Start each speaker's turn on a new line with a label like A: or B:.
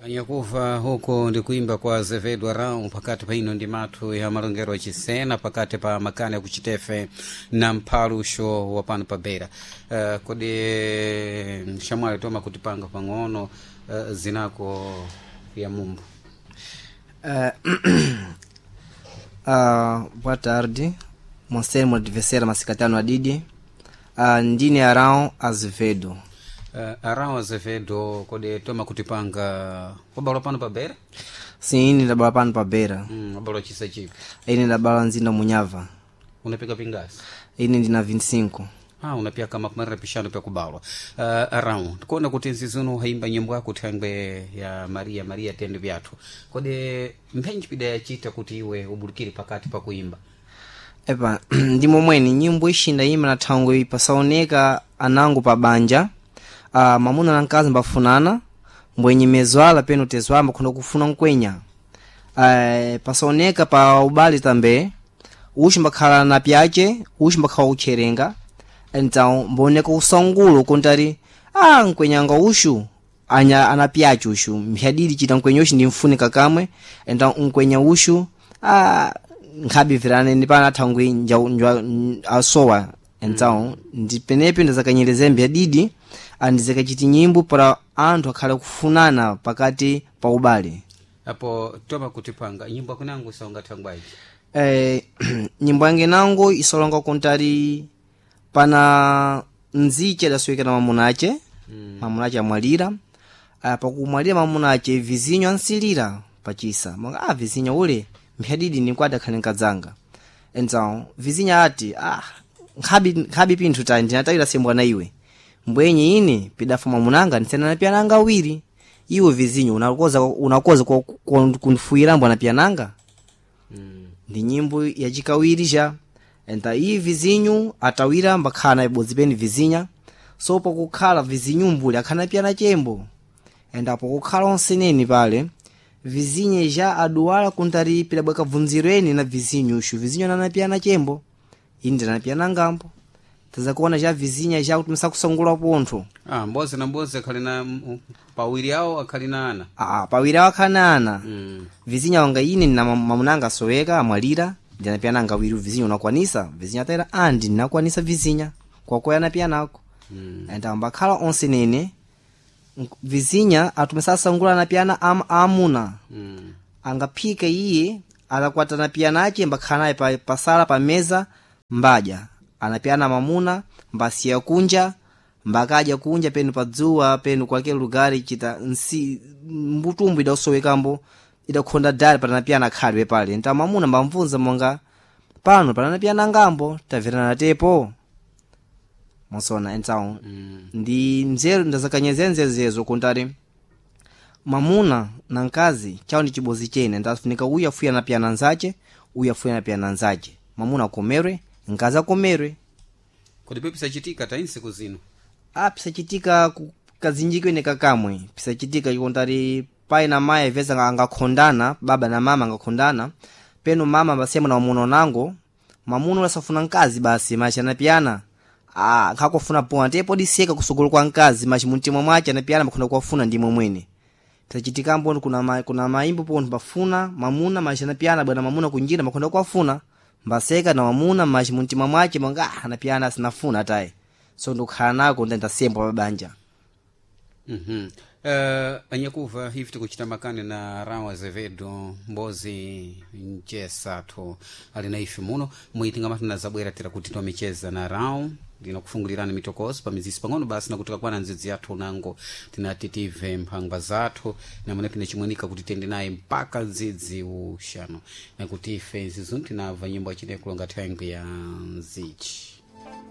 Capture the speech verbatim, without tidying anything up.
A: Anyakuva huko ndi kuimba kwa Azevedo Arão pakati pa ino ndi mathu ya malongero achisena pakati pa makani akuchitefe na mphaluxo wa pano pa beira. uh, kodi xamwali toma kutipanga pang'ono uh, zinako ya mumbu.
B: Uh, uh, boa tarde, Monsenmo adversário Masicatano Adidi. Uh, ndine Arão Azevedo.
A: uh, Arão Azevedo, kodi toma kutipanga wabalwa pano pa beira?
B: Sim, ine ndabala pano pa Beira.
A: mm, wabalwa chisa chipi?
B: Ine ndabala mzinda Munyava.
A: Unapika pingasi?
B: Ine ndina vinte e cinco.
A: Ah, unapia kama kumarira pishano pya kubalwa. uh, Arão, tikuona kuti nzizuno haimba nyimbo yako thangwe ya Maria Maria tendo vyathu. Kodi mphenji pida yachita kuti iwe ubulukire pakati pa kuimba?
B: Epa, ndi momweni nyimbo ixi ndayimba na thangwe pasaoneka anango pa banja. uh, mamuna na mkazi mbafunana mbwenye mezwala peno tezwala mbakhonda kufuna nkwenya. uh, pasaoneka pa ubale tambe uxi mbakhala na pyace, uxi mbakhala kutcherenga, então mboneka usangulo kontari ah nkwenyanga uxu anya ana pyace uxu mphyadidi chita nkwenya uxu ndimfunika kamwe, então nkwenya uxu ah nkhabe virane ndi pana thangwi nja, nja, asowa, então ndi penepe ndazakanyereze mphyadidi andizakachiti nyimbo para anthu akhale kufunana pakati pa ubale.
A: Apo toma kutipanga nyimbo akunango isaonga thangwaiji?
B: Eh, nyimbo yange nango isolonga kontari pana mziche adasowekera mamuna ace. mm. Mamuna ace amwalira. uh, pakumwalira mamuna ace, vizinyo ansilira pachisa monga ah vizinyo ule mphyadidi ninkwati akhale nkadzanga, então vizinyo ati ah nkhabi nkhabi pinthu tayi ndinatayira sembwana iwe mbwenye ine pidafa mamunanga ndisena napiyananga awiri, iwe vizinyo unakoza unakoza kundifuyira mbwana piyananga.
A: mm.
B: Ndi nyimbo yachikawiri cha enta iyi vizinyu atawira mbakhala na ibodzi peni vizinya, so pakukhala vizinyu mbuli akhana piyana chembo, enda pakukhala onseneni pale vizinye ja aduwala kuntari pidabweka bvunziro na vizinyu uxu vizinyu ananapiyana chembo ini ndinapiyana ngambo tazakuona ja vizinya ja kuti msakusangula pontho.
A: Ah, mbozi na mbozi akhali na m- pawiri awo akhali na ana.
B: Ah, pawiri awo akhana ana.
A: mm.
B: Vizinya wanga ine na mamunanga asoweka amwalira ndinapiyana ngawiri, vizinyo unakwanisa? Vizinyo atayira ah ndinakwanisa vizinya kwakoya anapiyanako.
A: Mm.
B: And ambakhala onse nene nk- vizinya atumisasangula anapiyana am, amuna.
A: Mm.
B: Angaphike iye alakwata anapiyana ace mbakhala naye pa, pasala pa meza mbadya anapiyana mamuna mbasiya kunja mbakadya kunja penu pa dzuwa penu kwake lugari chita nsi mbutumbu idasowekambo idakhonda dali patanapiyana akhaliwe pale nta mamuna mbamvunza monga pano patanapiyana ngambo taverana tepo mosona, então
A: Mm.
B: ndi nzeru ndazakanyeze nzeru kuntari mamuna na mkazi chawo ndi chibozi chene ndafunika uyu afuya na piyana nzace, uyu afuya na piyana nzace, mamuna akomerwe, mkazi akomerwe.
A: Kodi pepi sachitika ta insiku zino?
B: Ah, pisachitika ku- kazinjikwe ne kakamwe pisachitika kontari pai na mayi veza angakhondana, baba na mama angakhondana peno mama basiyama na mamuna nango mamuna ulasafuna mkazi basi machi anapiyana ah nkhakufuna poa ndiye podiseka kusogolo kwa mkazi machi mumtima mwace anapiyana makhonda kuwafuna ndimwe mwene pisachitikambo kuna ma, kuna maimbo pontho bafuna mamuna machi anapiyana bwana mamuna kunjira makhonda kuwafuna mbaseka na mamuna machi mumtima mwace monga ah anapiyana asinafuna atayi so ndikukhala nako ndandasembwa pabanja.
A: mm Uh, anyakuva hivi tikuchita makani na Rao Azevedo mbozi mchesathu ali na ife muno muitingamati na zabwera tira kuti twamicheza na Rao ndinakufungulirani mitokoso pamizisi pang'ono basi nakuti kakwana ndzidzi yathu nango tinati tive mphangwa zathu namene pine chimwenika kuti tende naye mpaka ndzidzi uxano nakuti ife nzizunu tinabva nyimbo achine kulonga thangwi ya nzichi.